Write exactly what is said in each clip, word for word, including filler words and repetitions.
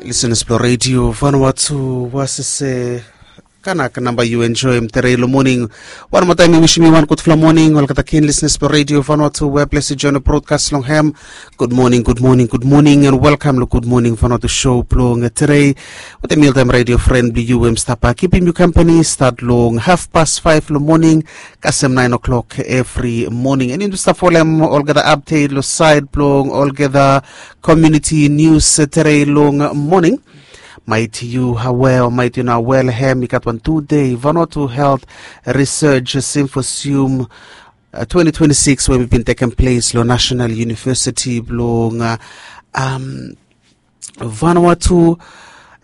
Lisenas blong redio Vanuatu, wasese kanak namba yu enjoem tere long moning. Wan moa taem mi wisim yu wan gudfala moning olgeta ken lisenas blong redio Vanuatu we ples yu join brodkas long hem. Gud moning, gud moning, gud moning, and welkam long Gud Moning Vanuatu show blong tere. Wetem mi oltaem redio fren blong yu we mi stap kipim yu kampani stat long hafpas faef long moning kasem naen o'klok evri moning. And yu stap folem olgeta apdet long saed blong olgeta komuniti nius tere long moning. Maet yu awe o maet yu no awe long hem, i gat wan tu dei Vanuatu Health Research Symposium twenty twenty-six we mi bin tekem ples long National University blong Vanuatu.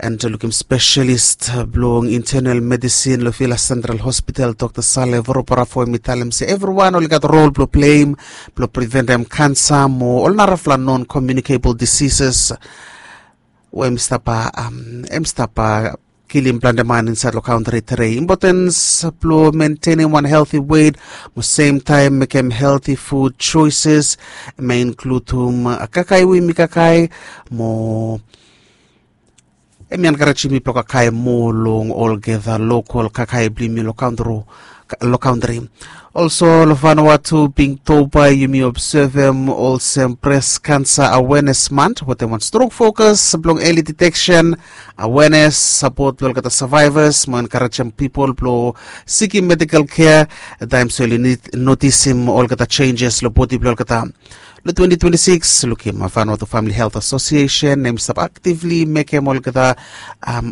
And lukim spesialis blong internal medisin long Vila Central Hospital, Dr Sale Voroparafo, em i talem se evriwan oli gat rol blong pleim blong priventem kansa mo ol narafala non komunikabol disises we em stap kilim plante man insaed long kantri tere. Impotens blong mentenem wan helti wet mo semtaem mekem helti fud joeses, em i inkludim kakae we yumi kakae mo em i enkarejem mi blong kakae moa long olgeta lokol kakae blong yumi long kantri. Olso long Vanuatu, Pinktoba, yumi obsevem olsem Bres Kansa Awenes Mant wetem wan strong fokas blong eli diteksen, awenes, sapot blong olgeta savaevas mo enkarejem pipol blong sikim medikal kea taem se oli notisim olgeta jenjes long bodi blong olgeta. Long twenty twenty-six, lukim Vanuatu Famili Helt Asosiesen em i stap aktivli mekem olgeta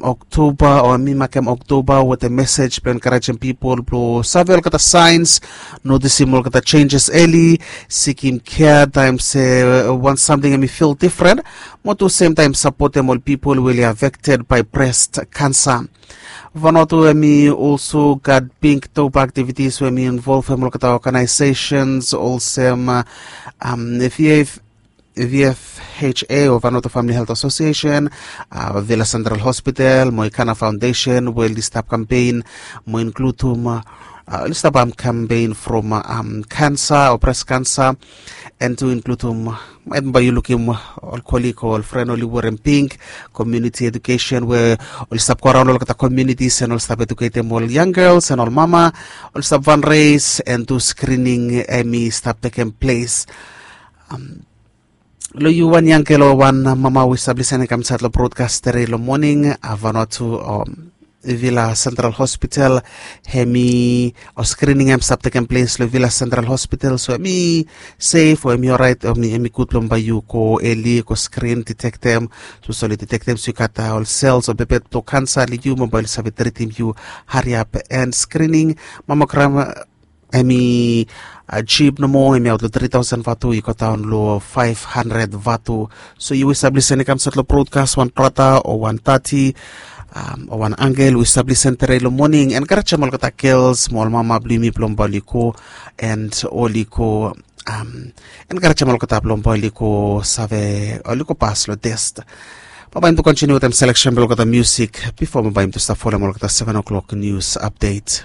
Oktoba o mi makem Oktoba wetem mesej blong enkarejem pipol blong save olgeta saens, notisim olgeta jenjes eli, sikim kea taem se wan samting em i fil difren, mo tu semtaem sapotem ol pipol we oli afekted bae bres kansa. Vanuatu em i olso gat Pinktoba aktivitis we em i involvem olgeta oganaesesens olsem vf vfha o Vanuatu Famili Helt Asosiesen, Vila Central Hospital mo Ikana Faondesen we oli stap kampen mo inkludim oli stap kampen from kansa o bres kansa, and tu inkludim em bae yu lukim ol kolik o ol fren oli werem pink, komuniti edukesen we oli stap goraon long olgeta komunitis and oli stap eduketem ol yang gels and ol mama, oli stap fanres and tu skrining em i stap tekem ples. Long yu wan yang gel o wan mama we yu stap lisening kam insaed long brodkas tere long moning, Vanuatu o Vila Central Hospital, em i o skrining em stap tekem ples long Vila Central Hospital, so em i sef o em i oraet o em i gud blong bae yu go eli go skrin, ditektem. Sapos oli ditektem se yu gat ol sels o bebet blong kansa long yu, mo bae oli save tritim yu hariap. And skrining mamogram em i jip nomo, em i aot long tri taosen vatu i go daon long faef handred vatu. So yu we yu stap lisening kam insaed long brodkas, wan brata o wan tati o wan angel we yu stap lisening tere long moning, enkarejem olgeta gels mo ol mama blong yumi blong bae oli go and oli go enkarejem olgeta blong bae oli go save, oli go pas long test. Bae bae yumi tu kontiniu wetem seleksen blong olgeta musik bifo bae bae yumi tu stap folem olgeta seven o'clock nius apdet.